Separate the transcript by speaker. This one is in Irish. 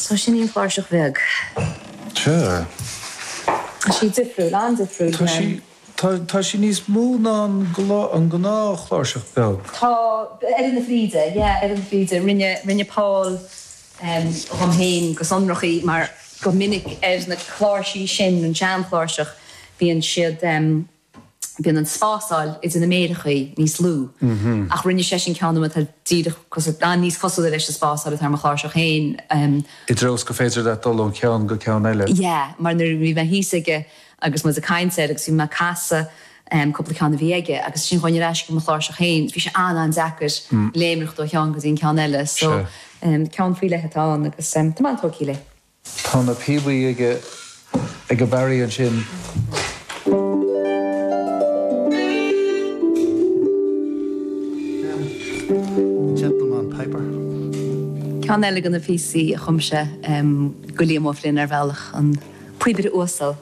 Speaker 1: So sin í an chláirseach bheag.
Speaker 2: Sea.
Speaker 1: Tá sí difriúil, an-difriúil.
Speaker 2: Tá sí, tá, tá sí níos mó ná an an gnáthchláirseach beag.
Speaker 1: Tá, oiread na fríde, yeah, oiread na fríde. Rinne, rinne Paul dhom féin go sonrach í mar go minic ar na cláirsí sin, an seanchláirseach, bíonn siad, bíonn an spásáil idir na méireachaí níos lú. Ach rinne seisean ceann dom atá díreach cosúil, níos cosúla leis an spásáil atá ar mo chláirseach féin.
Speaker 2: I dtreo is gur féidir leat dul ón cheann go ceann eile.
Speaker 1: Yeah, mar nuair a bhí mé thíos aige agus muid ag caint air agus bhí mé ag casadh cúpla ceann a bhí aige agus ansin chuaigh ar ais go mo chláirseach féin, bhí sé an-an-deacair léimreacht ó cheann go dtí an ceann eile. So, ceann faoi leith atá ann agus tá mé an-tógtha léi.
Speaker 2: Tá na píobaí aige ag Barry ansin.
Speaker 1: Gentleman Piper. Ceann eile de na píosaí a chum sé do Liam Ó Floinn ar bhealach, an Píobaire Uasal.